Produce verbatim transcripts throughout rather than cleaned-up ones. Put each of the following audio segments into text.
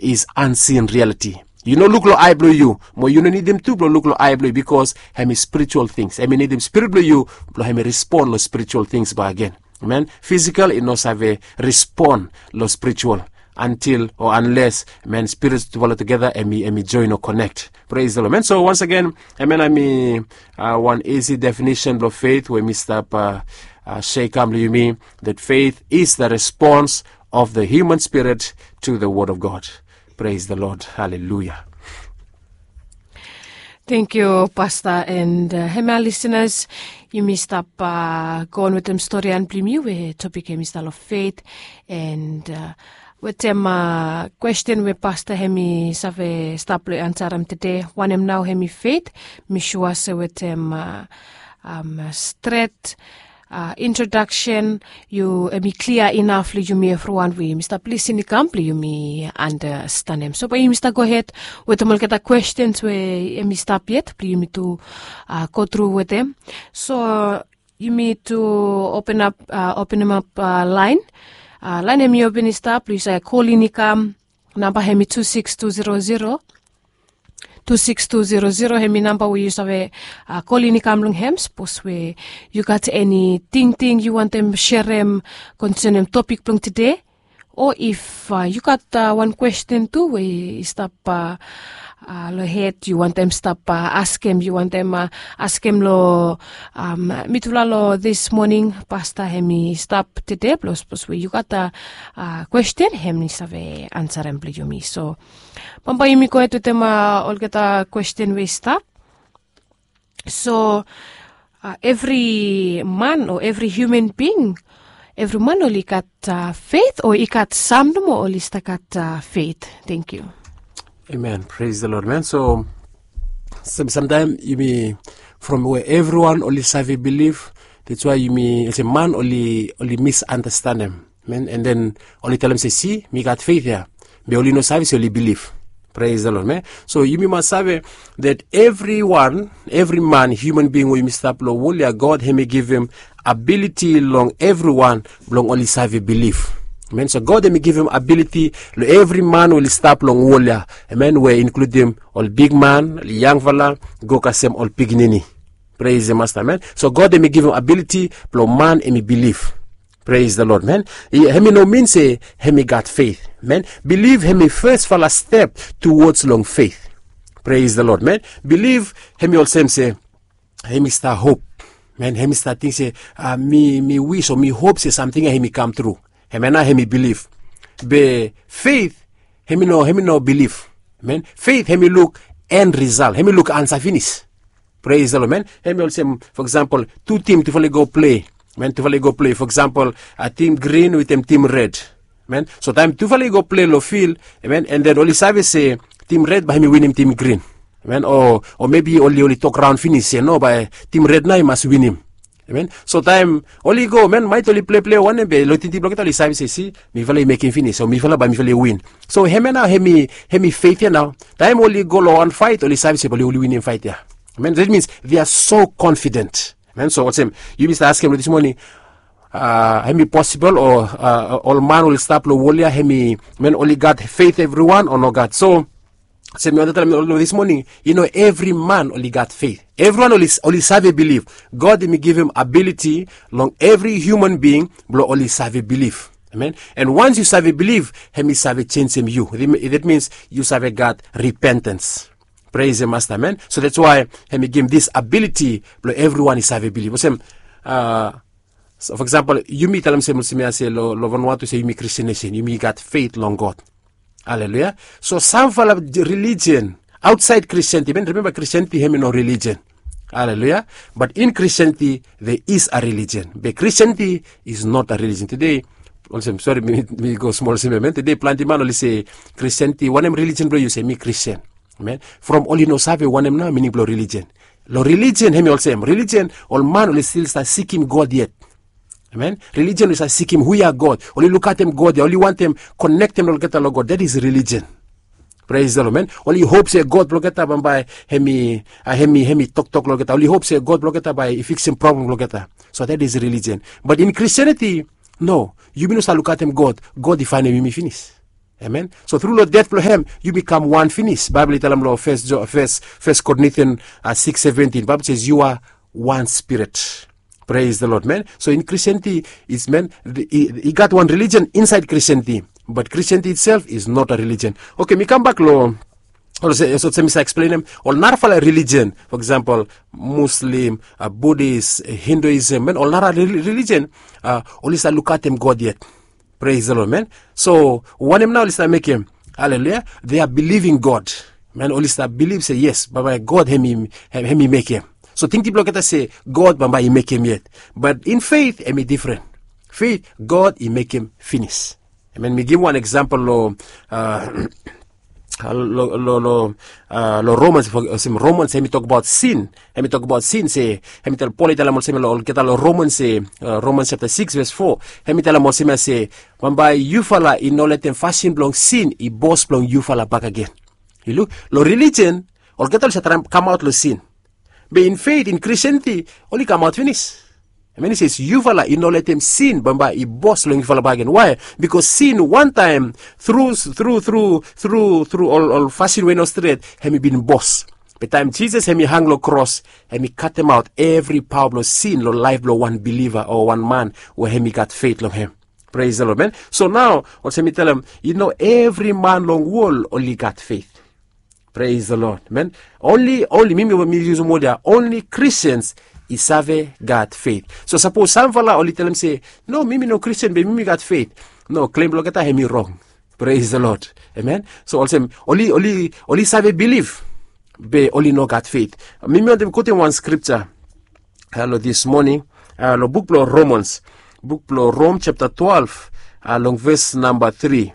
is unseen reality. Yu no luk long ai blong yu, mo yu no nidim tu blong luk long ai blong yu, bikos hem i spiritual things. Hem i nidim spirit blong yu blong hem i respon long spiritual things bakegen. Amen. Physical i no save respon long spiritual, until o unless, amen, spirits tufala tugeta hem i join o connect. Praise the Lord, amen. So once again, amen, hem i wan easy definition blong faith we mi stap share kam long yumi, that faith is the response of the human spirit to the word of God. Praise the Lord. Haleluya. Tengkiu pasta and hemia lisenas, yumi stap go on wetem storian blong yumi we topik hem i stap long feit. And wetem kwesten we pasta hem i save stap long ansarem tede, wanem nao hem i feit? Mi sua se wetem stret introdaksen, yu hem i klia inaf long yumi evriwan we yumi stap lisin i kam blong yumi andastanem. So bae yumi stap gohed wetem olgeta kwestens we hem i stap yet blong yumi tu go tru wetem. So yumi tu openap openemap laen. Laen hem i open i stap blong yu save kolin i kam. Namba hem i tu siks tu zero zero, tu siks tu zero zero, hem i namba we yu save kolin i kam long hem sapos we yu gat eni tingting yu wantem serem konsenem topik blong tede. O if yu gat wan kwesten tu we i stap long hed yu wantem stap askem, yu wantem askem long mitufala long this moning, pasta hem i stap tede blong sapos we yu gat kwesten hem i save ansarem blong yumi. So bambae yumi gohed wetem olgeta kwesten we i stap. So evri man o evri human bing, evri man oli gat feit o i gat sam nomo oli stap gat feit? Tengkiu. Amen. Praise the Lord, man. So samtaem yumi from we evriwan oli save bilif, that's why yumi olsem man oli misandastanem, man, and then oli talem se, si, mi gat feit ya, be oli no save se oli bilif. Praise the Lord, man. So yumi mas save that evriwan, evri man, human bing we yumi stap long wol ya, God hem i givim abiliti long evriwan blong oli save bilif. Amen. So God hem i givim abiliti long evri man we oli stap long wol ya, amen, we inkludim ol bigman, ol yangfala, go kasem ol pikinini. Praise the Master, amen. So God hem i givim abiliti blong man hem i bilif. Praise the Lord, man. Hem i no min se hem i gat feit, man. Bilif hem i fesfala step tuwods long feit. Praise the Lord, man. Bilif hem i olsem se hem i stap hop, man, hem i stap ting se mi wis o mi hop se samting ya hem i kam tru. Hemia nao hem i bilif. Be feit hem i no bilif, man. Feit hem i luk en risal, hem i luk ansa finis. Praise the Lord, man. Hem i olsem, fo eksampol, tu tim tufala i go plei, man, tufala i go plei, fo eksampol, tim grin wetem tim red, man. So taem tufala i go plei long fil, man, and then oli save se tim red bae hem i winim tim grin, man, o mebi oli oli tok raon finis se no, bae tim red nao i mas winim. Amen. So taem oli go, man, maet oli plei plei wanem be long tingting blong olgeta oli save se, si, mifala i mekem finis, o mifala bae mifala i win. So hemia nao hem i feit ya nao. Taem oli go long wan faet oli save se bae oli winim faet ya. Amen. That means they are so confident. Amen. So olsem yumi stap askem long this morning, hem i posibol o ol man oli stap long wol ya hem i, man, oli gat feit evriwan o nogat? So olsem mi wantem talem long this morning, i no evri man oli gat feit. Evriwan oli save bilif. God hem i givim abiliti long evri human bing blong oli save bilif. Amen. And once yu save bilif, hem i save jenjem yu. That means yu save gat repentance. Praise the Master, amen. So that's why hem i givim this abiliti blong evriwan i save bilif. Olsem, so fo eksampol, yumi talem se, olsem ya se long Vanuatu se yumi Christian nation, yumi gat feit long God. Haleluya. So samfala religion aotsaed Christianity, man, rimemba Christianity hem i no religion. Haleluya. But in Christianity there is a religion, be Christianity is not a religion. Tede, olsem, sori, mi go smol olsem ya, man. Tede plante man oli se Christianity, wanem religion blong yu? Se mi Christian. Amen. From oli no save wanem nao mining blong religion. Long religion hem i olsem, religion ol man oli stil stap sikim God yet. Amen. Religion oli stap sikim hu ya God, oli lukaotem God ya, oli wantem konektem olgeta long God. That is religion. Praise the Lord, man. Oli hop se God blong olgeta bambae hem i, hem i toktok long olgeta. Oli hop se God blong olgeta bae i fiksim problem blong olgeta. So that is religion. But in Christianity, no, yumi no save lukaotem God. God i faenem yumi finis. Amen. So tru long det blong hem yumi kam wan finis. Baibel i talem long First Korintian six seventeen, Baibel says you are one spirit. Praise the Lord, man. So in Christianity is, man, i gat wan religion inside Christianity, but Christianity itself is not a religion. Okay, mi kambak long olsem mi sa eksplenem ol narafala religion, for example, Muslim, Buddhist, Hinduism, man, ol nara religion oli sa lukatem God yet. Praise the Lord, man. So wanem nao oli sa mekem? Haleluya. They are believing God, man. Oli sa bilif se yes, bambae God hem i mekem. So tingting blong olgeta se God bambae i mekem yet. But in faith hem i difren. Faith, God i mekem finis. Amen. Mi givim wan eksampel long long Romans, olsem Romans hem i tokbaot sin. Hem i tokbaot sin se, hem i talem, Pol i talem olsem long olgeta long Romans se, Romans chapter six verse four, hem i talem olsem ya se bambae yufala i no letem fasin blong sin i bos blong yufala bakegen. Yu luk long religion, olgeta oli sa traem kamaot long sin. Be in faith, in Christianity, oli kamaot finis. Hem i says yufala i no letem sin bambae i bos long yufala bakegen. Why? Bikos sin wantaem tru tru tru tru tru ol fasin we i no stret hem i bin bos. Be taem Jisas hem i hang long kros, hem i katemaot evri paoa blong sin long laef blong wan biliva o wan man we hem i gat feit long hem. Praise the Lord, man. So nao olsem mi talem, i no evri man long wol oli gat feit. Praise the Lord, man. Onli onli mi mi yusum wod ya, onli Christians i save gat feit. So sapos samfala oli talem se, no, mi mi no Christian be mi mi gat feit. No, klem blong olgeta hem i rong. Praise the Lord. Amen. So olsem oli oli oli save bilif be oli no gat feit. Mi mi wantem kotem wan skripta long this morning, long buk blong Romans, buk blong Rom chapter twelve, long ves namba three.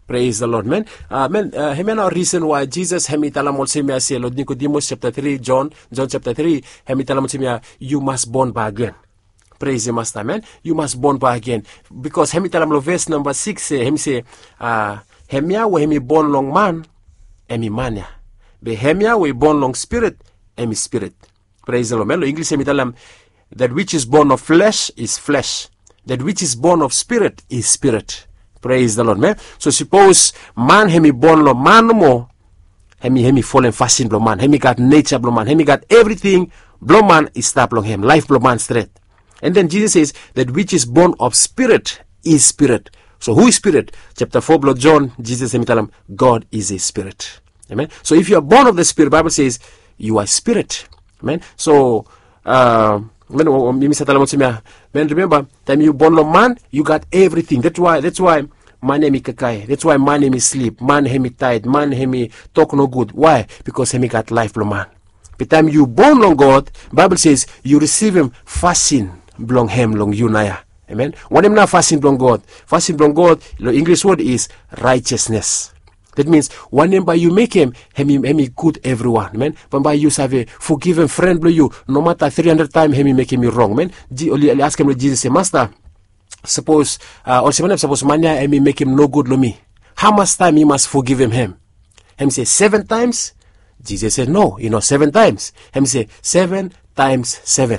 Praise the Lord, man. Man, hemia nao risen wae Jisas hem i talem olsem ya se long Nikodimus chapter three, John, John chapter three, hem i talem olsem ya, yu mas bon bakegen. Praise the Master, man. Yu mas bon bakegen. Bikos hem i talem long ves namba six se, hem i se, hemia we hem i bon long man, hem i man ya. Be hemia we i bon long spirit, hem i spirit. Praise the Lord, man. Long Inglis hem i talem, that which is born of flesh is flesh, that which is born of spirit is spirit. Praise the Lord, man. So sapos man hem i bon long man nomo, hem i hem i folem fasin blong man, hem i gat neja blong man, hem i gat evriting blong man i stap long hem, laef blong man stret. And then Jisas says, that which is born of spirit is spirit. So hu i spirit? Chapter four blong John, Jisas hem i talem, God is a spirit. Amen. So if you are born of the spirit, Bible says you are spirit. Amen. So man, mi mi sa talem olsem ya, man, rimemba, taem yu bon long man, yu gat evriting. That's why that's why man hem i kakae, that's why man hem i slip, man hem i taet, man hem i tok nogud. Why? Bikos hem i gat laef blong man. Be taem yu bon long God, Baibel says yu risivim fasin blong hem long yu naoia. Amen. Wanem nao fasin blong God? Fasin blong God long Inglis wod is righteousness. That means wanem bae yu mekem, hem i hem i gud evriwan, amen. Bambae yu save fogivim fren blong yu, nomata three hundred taem hem i mekem yu rong, amen. Oli askem long Jisas se, Masta, sapos, olsem wanem sapos man ya hem i mekem nogud long mi? Hamas taem mi mas fogivim hem? Hem i se, seven taems? Jisas se, no, i no seven taems. Hem i se, seven taems seven.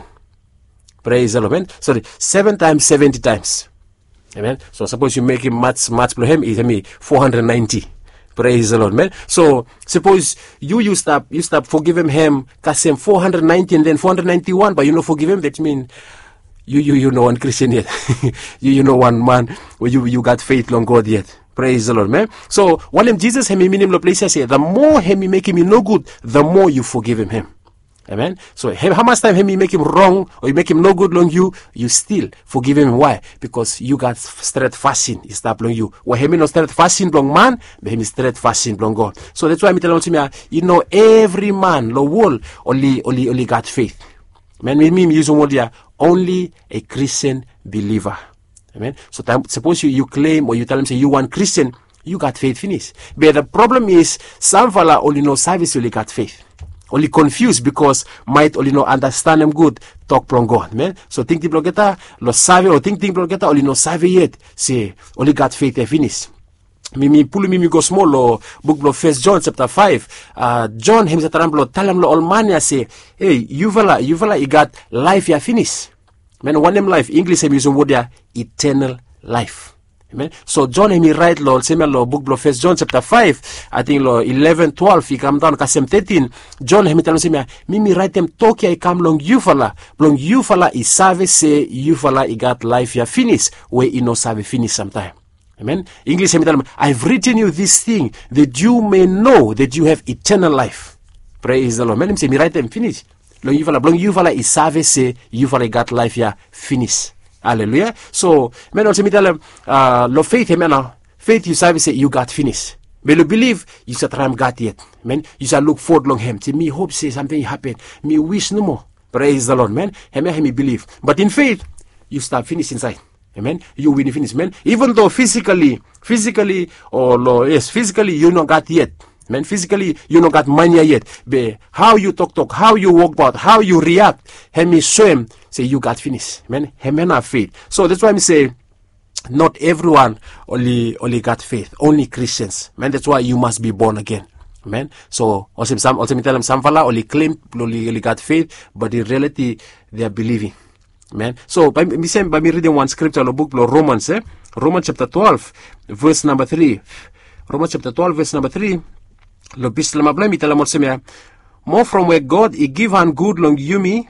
Praise the Lord, man. Sori, seven taems seventy taems. Amen. So sapos yu mekem mats mats blong hem, hem i four hundred ninety. Praise the Lord, man. So sapos yu yu stap yu stap fogivim hem kasem four hundred ninety and then four hundred ninety-one bae yu no fogivim, that mean yu yu yu no wan Christian yet. Yu yu no wan man we yu yu gat feit long God yet. Praise the Lord, man. So wanem Jisas hem i minim long ples ya se, the more hem i mekem yu nogud, the more yu fogivim hem. Amen. So hamas taem hem i mekem rong o i mekem nogud long yu, yu stil fogivim hem. Why? Bikos yu gat stret fasin i stap long yu, we hem i no stret fasin blong man, be hem i stret fasin blong God. So that's why mi talem olsem ya, i no evri man long wol oli oli oli gat feit. Man, mi mi yusum wod ya, onli a Christian believer. Amen. So taem sapos yu yu klem o yu talem se yu wan Christian, yu gat feit finis. Be the problem is, samfala oli no save se oli gat feit. Oli konfius bikos maet oli no andastanem gud tok blong God, amen. So tingting blong olgeta long save o tingting blong olgeta oli no save yet se oli gat feit ya finis. Mi mi pulum yumi go smol long buk blong First John chapter five. John hem i sa traem blong talem long ol man ya se, ei, yufala yufala i gat laef ya finis. Man, wanem laef? Inglis hem i yusum wod ya, eternal life. Amen. So John hem i rait long olsem ya long buk blong First John chapter five, ating long eleven, twelve i kam daun kasem thirteen. John hem i talem olsem ya, mi mi raitem tok ya i kam long yufala blong yufala i save se yufala i gat laif ya finis we i no save finis samtaem. Amen. English hem i talem, I've written you this thing that you may know that you have eternal life. Praise the Lord. Amen. Hem i se mi raitem finis long yufala blong yufala i save se yufala i gat laif ya finis. Haleluya. So men olsem mi talem, long feit hem ya nao, feit yu save se yu gat finis. Be long bilif yu sa traem gat yet. Men yu sa luk fod long hem se mi hop se samting i hapen. Mi wis nomo. Praise the Lord men. Hem ya hem i bilif, bat in feit yu stap finis insaed. Amen. Yu wini finis men, even though physically, physically o lo yes, physically yu no gat yet. Men, physically yu no gat mani ya yet, be hao yu toktok, hao yu wokbaot, hao yu riak, hem i soem se yu gat finis. Men, hem ya nao feit. So that's why mi se not everyone oli oli gat feit, only Christians. Men, that's why you must be born again. Men, so olsem sam olsem mi talem samfala oli klem oli oli gat feit, but in reality they are believing. Men, so bae mi sem bae mi ridim wan skripta long buk blong Romans e, Romans chapter twelve, ves namba three. Romans chapter twelve, ves namba three. Long bislama blong hem i talem olsem ya, mo from we God i givhan gud long yumi,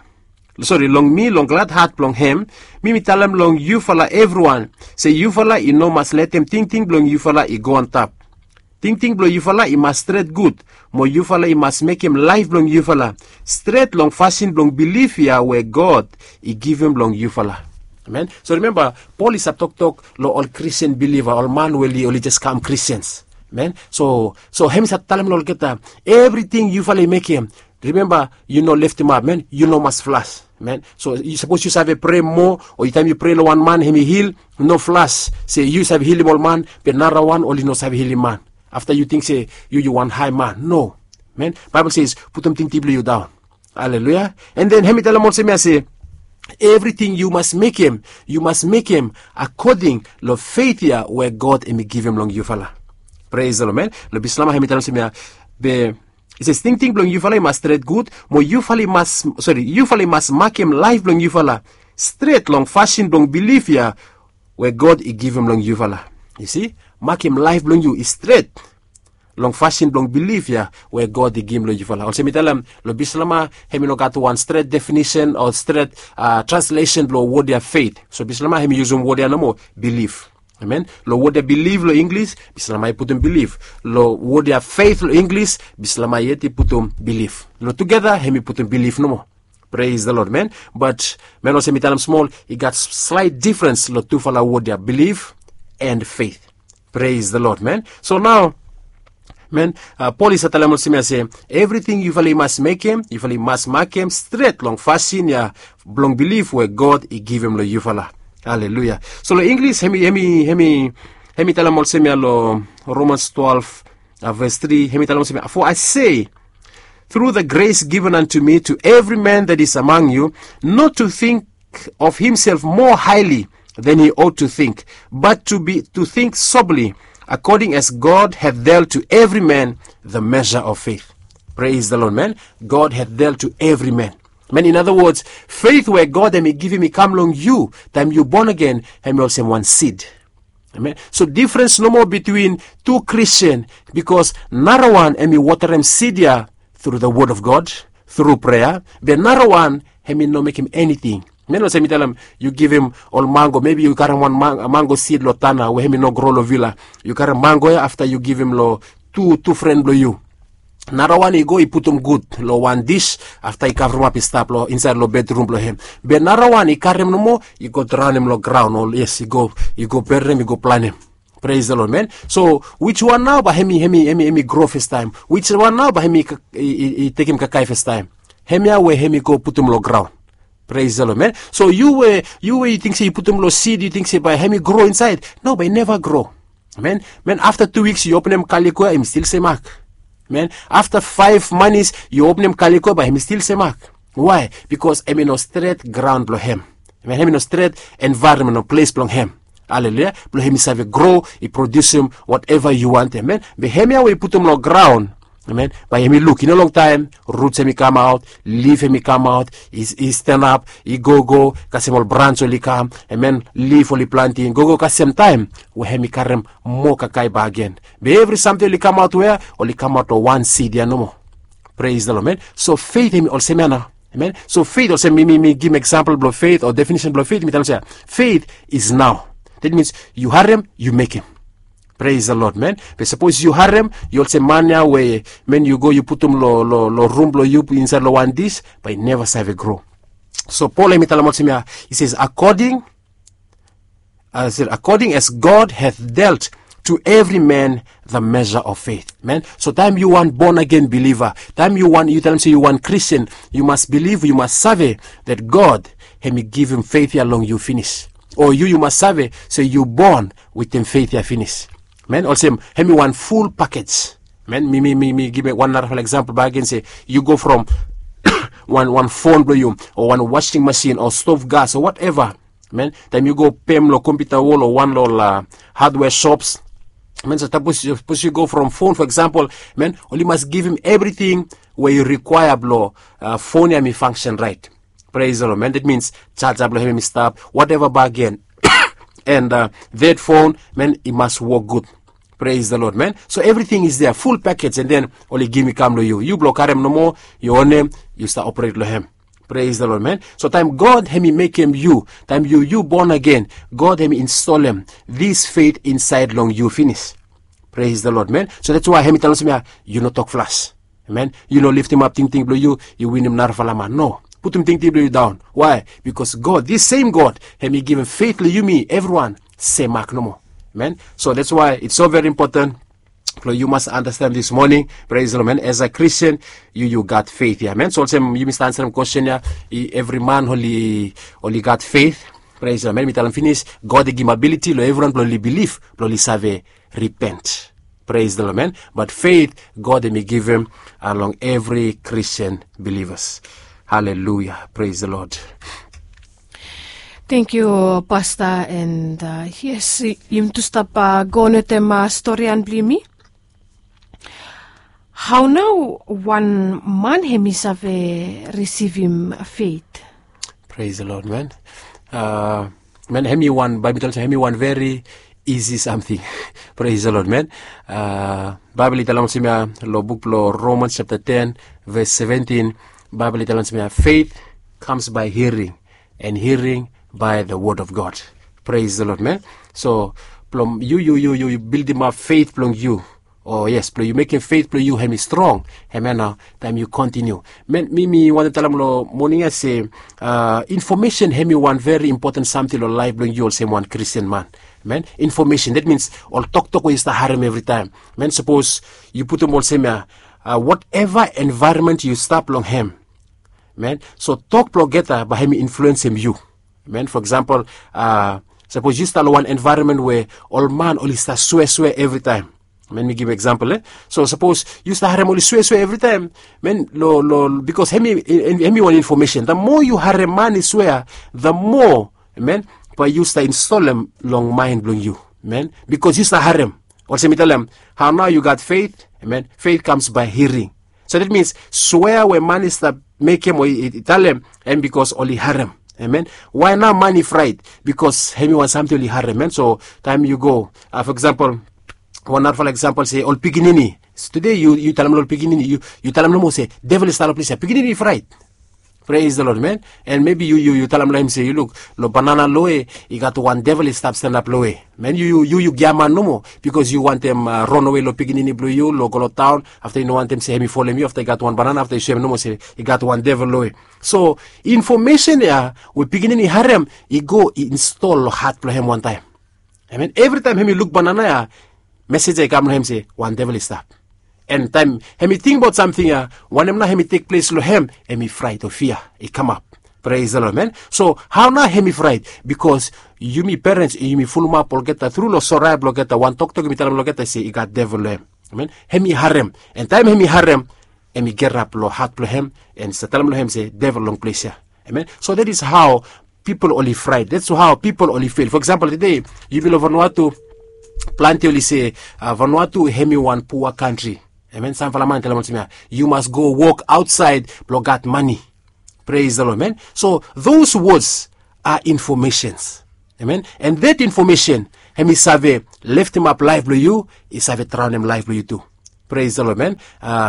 sori, long mi long glad hat blong hem, mi mi talem long yufala evriwan se yufala i no mas letem tingting blong yufala i go antap. Tingting blong yufala i mas stret gud, mo yufala i mas mekem laef blong yufala stret long fasin blong bilif ya we God i givim long yufala. Amen. So rimemba, Pol i save toktok long ol Kristin biliva, ol man we oli oli jes kam Kristins. Amen. So so hem i save talem long olgeta, evriting yufala i mekem, rimemba, yu no leftemap, men, yu no mas flas. Men, so sapos yu save prea moa, o taem yu prea long wan man hem i hil, no flas se yu save hilim ol man be narawan oli no save hilim man. Afta yu ting se yu yu wan hae man. No. Men, Baebol se putum tingting blong yu daon. Haleluya. An den hem i talem olsem ya se evriting yu mas mekem, yu mas mekem akoding long feit ya we God hem i givim long yufala. Pres long men, long bislama hem i talem olsem ya, be i se tingting blong yufala i mas stret gud, mo yufala i mas, sori, yufala i mas makem laef blong yufala stret long fasin blong bilif ya we God i givim long yufala. Yu si, makem laef blong yu i stret long fasin blong bilif ya we God i givim long yufala. Olsem mi talem, long bislama hem i no gat wan stret definisen o stret translesen blong wod ya feit. So bislama hem i yusum wod ya nomo, bilif. Amen. Long wod ya bilif long Inglis, bislama i putum bilif. Long wod ya feit long Inglis, bislama yet i putum bilif. Long tugeta hem i putum bilif nomo. Pres long Lod, men. Bat men, olsem mi talem smol, i gat slaet difrens long tufala wod ya, bilif an feit. Pres long Lod, men. So nao, men, Pol i save talem olsem ya se evriting yufala i mas mekem, yufala i mas makem stret long fasin ya blong bilif we God i givim long yufala. Haleluya. So long Inglis hem i, hem i, hem i, hem i talem olsem ya long Romans twelve, ves tri, hem i talem olsem ya, for I say, through the grace given unto me, to every man that is among you, not to think of himself more highly than he ought to think, but to be to think soberly, according as God hath dealt to every man the measure of faith. Pres long Lod, men. God hath dealt to every man. Men, in other words, feit we God hem i givim i kam long yu taem yu bon agen, hem i olsem wan sid. Amen. So difrens nomo bitwin tu Kristin, bikos narawan hem i wotarem sid ya tru the wod of God, tru prea, be narawan hem i no mekem eniting. Men, olsem mi talem, yu givim ol mango, mebi yu karem wan mango sid long tana we hem i no gro long vila. Yu karem mango ya, afta yu givim long tu tu fren blong yu. Narawan i go i putum gud long wan dis, afta i kavremap i stap long insaed long bedrum blong hem. Be narawan i karem nomo, i go draonem long graon, o yes, i go, i go bernem, i go planem. Pres long Lod, men. So wiswan nao bae hem i, hem i, hem i gro fastaem? Wiswan nao bae hem i tekem kakae fastaem? Hemia we hem i go putum long graon. Pres long Lod, men. So yu we, yu we yu ting se yu putum long sid, yu ting se bae hem i gro insaed? No, bae i neva gro. Men, men, afta tu wiks yu openem kaliko ya, hem i stil semak. Men, afta faef manis yu openem kaliko ya, bae hem i stil semak. Wae? Bikos hem i no stret graon blong hem. Men, hem i no stret envaeronmen o ples blong hem. Haleluya. Blong hem i save gro, i produsim wateva yu wantem. Men, be hemia we yu putum long graon, Amen. Bae hemi luk i no longtaem, ruts hemi kamaot, lif hemi kamaot, i stanap, i gogo kasem ol brans oli kam, amen, lif oli planti gogo kasem taem we hemi karem moa kakae bakegen. Be evri samting oli kamaot we ya, oli kamaot long wan sid ya nomo. Pres de lod, amen. So feit hemi olsem ya nao. Amen. So feit olsem mi mi mi givim eksampol blong feit o definisen blong feit mi talem olsem ya, feit is nao. Dat mins yu harem, yu mekem. Pres de lod, amen. Be sapos yu harem, yu olsem man ya we, amen, yu go yu putum long rum blong yu insaed long wan dis, bae i neva save gro. So Pol hemi talem olsem ya, i ses akoding, akoding as God hath dealt to evri man the measure of feit. Amen. So taem yu wan bon agen biliva, taem yu wan, yu talem se yu wan Kristin, yu mas biliv, yu mas save dat God hemi givim feit ya long yu finis. O yu yu mas save se yu bon wetem feit ya finis. Amen. Olsem hemi wan ful pakej. Amen. Mi mi mi mi givim wan narafala eksampol bakegen se yu go from wan wan fon blong yu, o wan wasing masin, o stov gas, o wateva. Amen. Taem yu go pem long kompiuta wol o wan long ol hadwea sops. Amen. So sapos yu go from fon fo eksampol, amen, oli mas givim evriting we yu rikwaea blong fon ya mi fangsen raet. Pres de lod, amen. Dat mins jaja blong hem hemi stap, wateva bakegen. And dat fon, amen, i mas wok gud. Pres de lod, amen. So evriting is dea, ful pakej, and den oli givim i kam long yu, yu blong karem nomo, yu onem, yu stap operet long hem. Pres de lod, amen. So taem God hemi mekem yu, taem yu yu bon agen, God hemi instolem dis feit insaed long yu finis. Pres de lod, amen. So dats wae hemi talem olsem ya, yu no tok flas. Amen. Yu no liftimap tingting blong yu, yu winim narafala man, no. Putum tingting blong yu daon. Wae? Bikos God, dis sem God, hemi givim feit long yumi evriwan sem mak nomo. Amen. So dats wae its so veri impoten blong yu mas andasten dis moning. Pres de lod, amen. As a Kristin, yu yu gat feit ya, amen. So olsem yumi stap ansarem kwesten ya, evri man oli oli gat feit. Pres de lod, amen. Mi talem finis, God i givim abiliti long evriwan blong oli bilif, blong oli save ripent. Pres de lod, amen. Bat feit God hemi givim long evri Kristin bilivas. Haleluia. Pres de lod. Tangkiu pasta, and yes, yumi tu stap go wetem storian blong yumi. Hao nao wan man hemi save risivim feit? Pres de lod, amen. Amen. Hemi wan, Baebol i talem olsem hemi wan veri isi samting. Pres de lod, amen. Baebol i talem olsem ya long buk blong Romans japta ten, ves seventin, Baebol i talem olsem ya, feit kams bae hiaring, and hiaring by the word of God. Pres de lod, amen. So blong yu yu yu yu bildimap feit blong yu, o yes, blong yu mekem feit blong yu hemi strong, amen, nao taem yu kontiniu. Amen. Mi mi wantem talem long moning ya se infomesen hemi wan veri impoten samting long laef blong yu olsem wan Kristin man. Amen. Infomesen, dat mins ol toktok we yu stap harem evritaem. Amen. Sapos yu putum olsem ya, wateva envaeronmen yu stap long hem, amen, so tok blong olgeta bae hemi influensem yu. Amen. Fo eksampol, sapos yu stap long wan envaeronmen we ol man oli stap sweaswea evritaem. Amen. Mi givim eksampol, e? So sapos yu stap harem oli sweaswea evritaem, amen, long long bikos hemi hemi wan infomesen, the more yu harem man i swea, the more, amen, bae yu stap instolem long maen blong yu. Amen. Bikos yu stap harem. Olsem mi talem, hao nao yu gat feit? Amen. Feit kams bae hiaring. So dat mins swea we man i stap mekem o i talem, hem bikos oli harem. Amen. Wae nao man i fraet? Bikos hemi wan samting oli harem, amen. So taem yu go, fo eksampol, wan narafala eksampol se ol pikinini. Tude yu yu talem long ol pikinini, yu yu talem nomo se devil i stap long ples ya, pikinini i fraet. Pres de lod, amen. And mebi yu yu yu talem long hem se, yu luk, long banana loe i gat wan devil i stap stanap loe. Amen. Yu yu yu yu giaman nomo bikos yu wantem ronawe long pikinini blong yu long go long taon, afta yu no wantem se hemi folem yu, afta i gat wan banana, afta yu soem nomo se i gat wan devil loe. So infomesen ya we pikinini i harem, i go i instol long hat blong hem wantaem. Amen. Evritaem hemi luk banana ya, mesej ya i kam long hem se wan devil i stap. And taem hemi tingbaot samting ya, wanem nao hemi tekples long hem? Hemi fraet o fia i kamap. Pres de lod, amen. So hao nao hemi fraet? Bikos yumi perens yumi fulumap olgeta tru long sore ae blong olgeta, wan toktok yumi talem long olgeta se i gat devil long hem. Amen. Hemi harem. And taem hemi harem, hemi girap long hat blong hem, and i stap talem long hem se devil long ples ya. Amen. So dat is hao pipol oli fraet, dat is hao pipol oli fel. Fo eksampol, tude yumi long Vanuatu, plante oli se Vanuatu hemi wan pua kantri. Amen. Samfala man i talem olsem ya, yu mas go wok aotsaed blong gat mane. Praise the Lord, man. So those words are informations. Amen. And that information hem i save leftemap laef blong yu, i save draonem laef blong yu tu. Praise the Lord, man.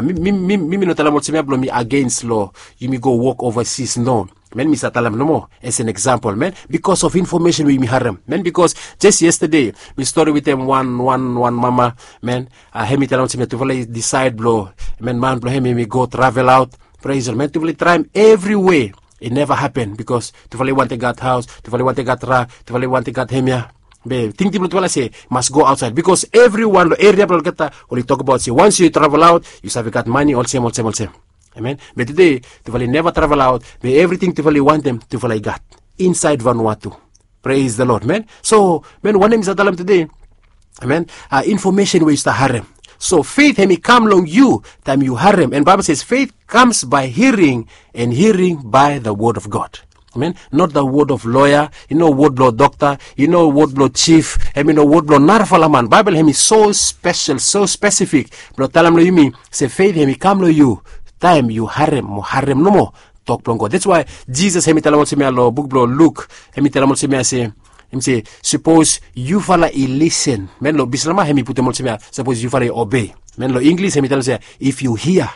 Mi mi mi mi mi no talem olsem ya blong mi agens long yumi go wok ovasis, no. Man, mi save talem nomo as an example, man, bikos of information we yumi harem, man, bikos jes yestade mi stori wetem wan wan wan mama, man. Hem i talem olsem ya tufala i disaed blong, man, man blong hem hem i go travel aot. Praise the Lord, man. Tufala i traem evriwea. I neva hapen bikos tufala i wantem gat haos, tufala i wantem gat ra, tufala i wantem gat hemia. Be tingting blong tufala se mas go aotsaed bikos evriwan long eria blong olgeta oli tokbaot se wans yu travel aot yu save gat mane olsem olsem olsem. Amen. Be tude tufala i neva travel aot, be evriting tufala i wantem tufala i gat insaed Vanuatu. Praise the Lord, man. So, man, wanem mi save talem tude? Amen. Information we yu stap harem. So faith hem i kam long yu taem yu harem, and Bible says faith comes by hearing, and hearing by the word of God. Amen. Not the word of lawyer, i no wod blong dokta, i no wod blong chief, hem i no wod blong narafala man. Baebol hem i so spesel, so spesifik blong talem long yumi se faith hem i kam long yu taem yu harem mo harem nomo tok blong God. That's why Jisas hem i talem olsem ya long buk blong Luk, hem i talem olsem ya se, hem i se, sapos yufala i lisen, man, long Bislama hem i putum olsem ya, sapos yufala i obei. Man, long Inglis hem i talem olsem ya, if you hear.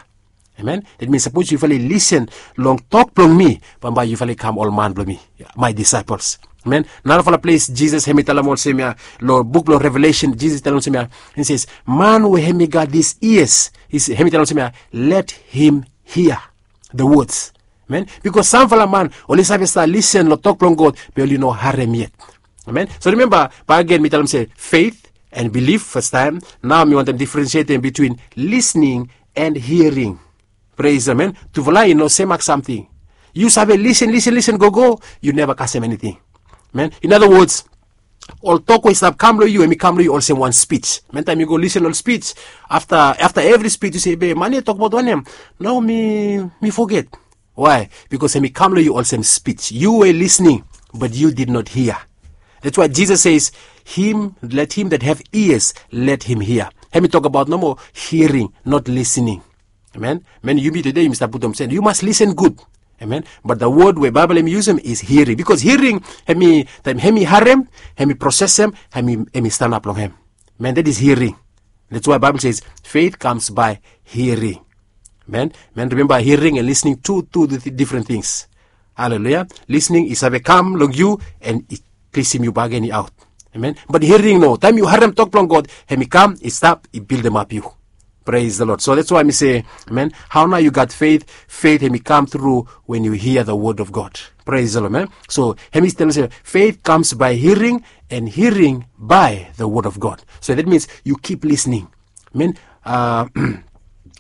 Amen. That means sapos yufala i lisen long tok blong mi, bambae yufala i kam ol man blong mi, my disciples. Amen. Narafala ples Jisas hem i talem olsem ya, long buk blong Revelation Jisas i talem olsem ya, he says, man we hem i gat dis ears, hem i talem olsem ya, let him hear the words. Amen. Bikos samfala man oli save stap lisen long tok blong God, be oli no harem yet. Amen. So rimemba, bakegen mi talem se faith and belief fastaem. Nao mi wantem difrensietem bitwin lisening and hiaring. Praise, amen. Tufala i no semak samting. Yu save lisen lisen lisen gogo, yu neva kasem eniting. Amen. In other words, ol tok we i stap kam long yu hem i kam long yu olsem wan spij. Amen. Taem yu go lisen ol spij, afta afta evri spij yu se, be man ya i tokbaot wanem? Nao mi mi foget. Why? Bikos hem i kam long yu olsem spij, yu we lisening, but yu did not hear. That's why Jesus says, him, let him that have ears, let him hear. Hem i tokbaot nomo hiaring, not lisening. Amen. Man, yumi tude yumi stap putum sen yu mas lisen gud. Amen. But the word we Baebol hem i yusum is hiaring, bikos hiaring hem i, taem hem i harem, hem i prosesem, hem i stanap long hem. Man, that is hiaring. That's why Baebol says faith comes by hiaring. Man, man, rimemba, hiaring and lisening tu tu difren tings. Haleluya. Lisening i save kam long yu and i plesim yu bakegen i aot. Amen. Bat hiaring no, taem yu harem tok blong God, hem i kam i stap i bildemap yu. Praise the Lord. So that's why mi se, amen, hao nao yu gat faith? Faith hem i kam tru wen yu hia the word of God. Praise the Lord, amen. So hem i talem se faith comes by hearing, and hearing by the word of God. So that means yu kip lisening. Amen.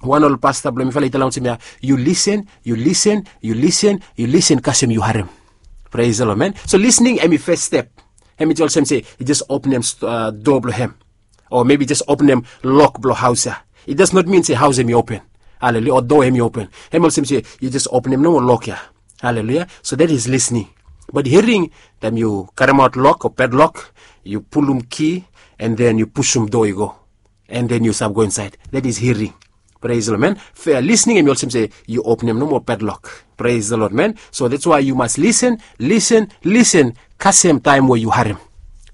Wan ol pasta blong mifala i talem olsem ya, yu lisen, yu lisen, yu lisen, yu lisen kasem yu harem. Praise the Lord, amen. So lisening hem i fes step. Hem i olsem se i jes openem doa blong hem, o maybe jes openem lok blong haos ya. It does not mean se haos hem i open. Haleluya. O doa hem i open. Hem olsem se yu jes openem nomo lok ya. Haleluya. So that is lisening. Bat hiaring, taem yu karemaot lok o pedlok, yu pulum ki, and then yu pusum doa i go, and then yu stap go insaed. That is hiaring. Praise the Lord, amen. Lisening hem i olsem se yu openem nomo pedlok. Praise the Lord, amen. So that's why yu mas lisen, lisen, lisen kasem taem we yu harem.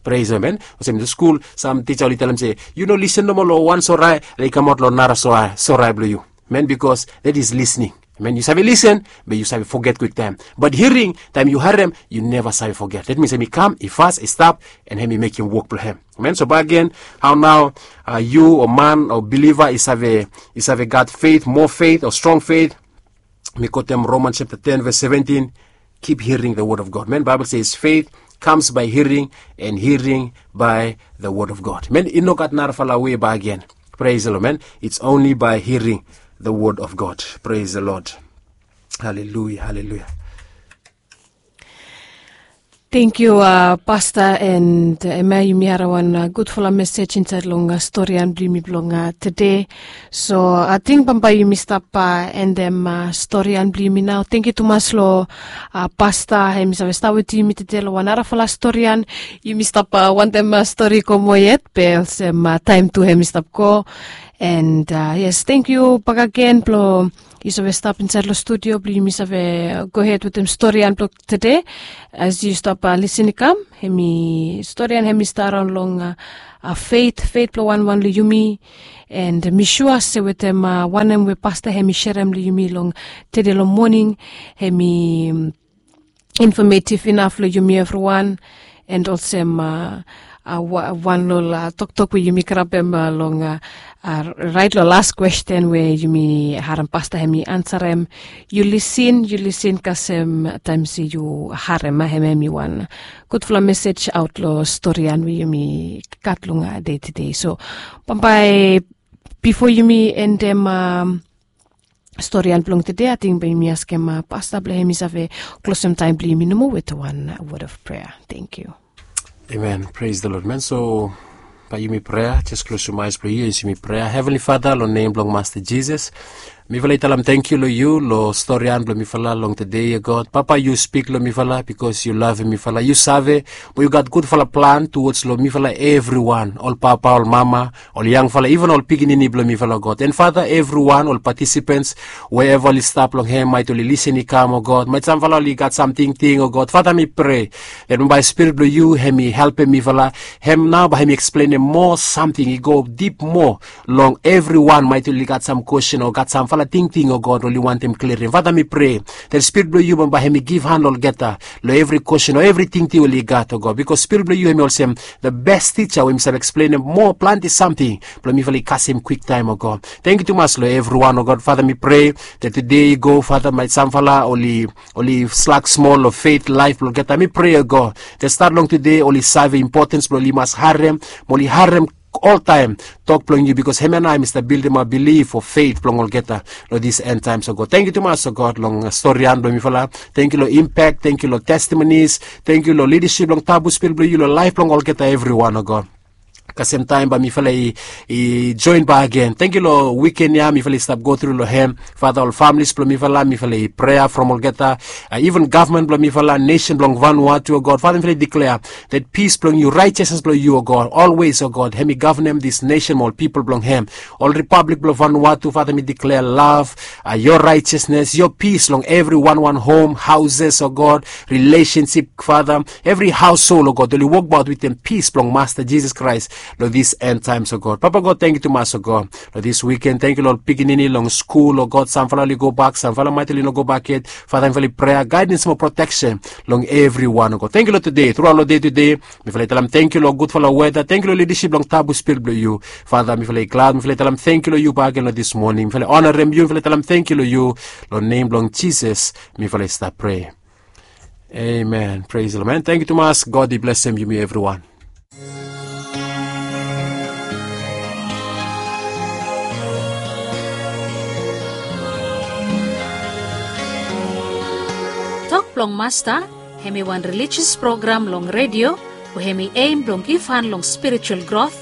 Praise the Lord, amen. Olsem long skul sam tija oli talem se yu no lisen nomo long wan sora, i kamaot long nara sora blong yu. Amen. Bikos that is lisening. Amen. Yu save lisen, be yu save foget kwiktaem. Bat hiaring, taem yu harem, yu neva save foget. That means hem i kam, i fas, i stap, and hem i mekem wok blong hem. Amen. So bakegen, hao nao yu o man o biliva i save, i save gat faith, moa faith o strong faith? Mi kotem Romans chapter ten verse seventeen. Keep hearing the word of God. Amen. Bible says faith comes by hearing, and hearing by the word of God. Amen. I no gat narafala wei bakegen. Praise the Lord, amen. It's only by hearing the word of God. Praise the Lord. Haleluya, haleluya. Tangkiu, pasta, and hemia yumi harem wan gudfala mesej insaed long storian blong yumi blong tede. So ating bambae yumi stap endem storian blong yumi nao. Tangkiu tumas long pasta, hem i save stap wetem yumi tede long wan narafala storian. Yumi stap wantem stori i go moa yet, be olsem taem tu hem i stap go. And yes, thank you bakagen blong yu save stap insait long studio blong yumi save go hed wetem storian blong tede. As yu stap lisin i kam, hemi storian hemi stap raon long feit feit blong wanwan long yumi. And mi sua se wetem wanem we pasta hemi serem long yumi long tede long moning, hemi infomeitiv inaf long yumi evriwan. And olsem wan long ol toktok we yumi krabem long rait long las kwesten we yumi harem pasta hemi ansarem. Yu lisin yu lisin kasem taem se yu harem a hem hemi wan gudfala mesej aot long storian we yumi gat long dei tede. So bambae, bifo yumi endem storian blong tede, ating bae yumi askem pasta blong hem i save klosem taem blong yumi nomo wetem wan wod of prea. Thank you. Amen. Praise the Lord, man. So bae yumi prea. Jes klosum aes blong yu as yumi prea. Heavenly Father, long nem blong Masta Jisas, mifala i talem tangkiu long yu long storian blong mifala long tede ya, God. Papa, yu spik long mifala bikos yu lavem mifala. Yu save mo yu gat gudfala plan tuwods long mifala evriwan, ol papa, ol mama, ol yangfala, iven ol pikinini blong mifala, God. And Father, evriwan ol patisipens, wherever oli stap long hem, maet oli lisin i kam, o God, maet samfala oli gat sam tingting, o God. Father, mi prea that bae Spirit blong yu hemi helpem mifala. Hem nao bae hemi eksplenem moa samting i go dip moa long evriwan maet oli gat sam kwesten o gat samfala tingting, o God, oli wantem klirim. Father, mi prea that Spirit blong yu bambae hemi givhan long olgeta long evri kwesten o evri tingting oli gat, o God, bikos Spirit blong yu hemi olsem the best tija we hemi save eksplenem moa plante samting blong mifala i kasem kwiktaem, o God. Tangkiu tumas long evriwan, o God. Father, mi prea that tede i go, Father, maet samfala oli oli slak smol long feit laef blong olgeta. Mi prea, o God, that stat long tede oli save impotens blong oli mas harem mo oli harem oltaem tok blong yu, bikos hemia nao hemi stap bildimap bilif o feit blong olgeta long dis end taems, o God. Tangkiu tumas, o God, long storian blong mifala. Tangkiu long impak, tangkiu long testimonies, tangkiu long lidasip blong tabu Spirit blong yu long laef blong olgeta evriwan, o God. Kasem taem bae mifala i joen bakegen. Tangkiu long wiken ya mifala i stap gotru long hem. Father, ol familis blong mifala, mifala i prea from olgeta, iven gavman blong mifala, nesen blong Vanuatu, o God. Father, mifala i diklea that pis blong yu, raejesnes blong yu, o God, olwes, o God, hemi gavenem dis nesen mo ol pipol blong hem. Ol ripablik blong Vanuatu, Father, mi diklea lav, yo raejesnes, yo pis long evri wanwan hom, haoses, o God, rilesensip, Father, evri haosol, o God, oli wokbaot wetem pis blong Masta Jisas Kraes long dis end taems, o God. Papa God, tangkiu tumas, o God, long dis wiken. Tangkiu long ol pikinini long skul, o God. Samfala oli gobak, samfala maet oli no gobak yet. Father, mifala i prea gaedens mo proteksen long evriwan, o God. Tangkiu long tede, truaot long dei tede, mifala i talem tangkiu long gudfala weda. Tangkiu long lidasip blong tabu Spirit blong yu. Father, mifala i glad, mifala i talem tangkiu long yu bakegen long dis moning. Mifala i onarem yu, mifala i talem tangkiu long yu. Long nem blong Jisas mifala i stap prea. Amen. Praise the Lord, man. Tangkiu tumas. God i blesem yumi evriwan. Tok blong Masta, hemi wan relijios program long redio we hemi aim blong givhan long spiritual grot,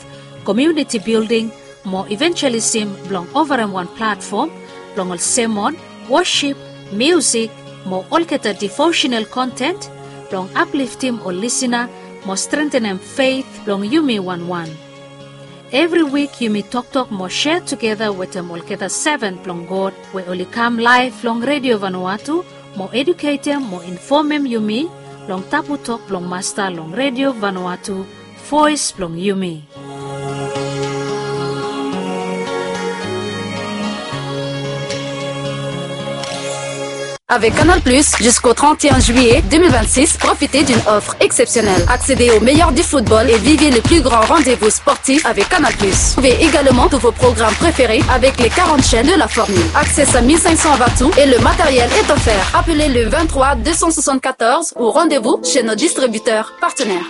komuniti bilding, mo ivanjelisim blong ovarem wan platfom blong ol semon, wosip, miusik, mo olgeta divosenal konten blong apliftim ol lisina mo strentenem feit blong yumi wanwan. Evri wik yumi toktok mo sea tugeta wetem olgeta seven blong God we oli kam laef long Redio Vanuatu mo eduketem mo infomem yumi long tabu tok blong Masta long Redio Vanuatu, voes blong yumi. Avec Canal Plus, jusqu'au trente et un juillet deux mille vingt-six, profitez d'une offre exceptionnelle. Accédez au meilleur du football et vivez le plus grand rendez-vous sportif avec Canal Plus. Trouvez également tous vos programmes préférés avec les quarante chaînes de la formule. Accès à mille cinq cents watts et le matériel est offert. Appelez le vingt-trois deux cent soixante-quatorze ou rendez-vous chez nos distributeurs partenaires.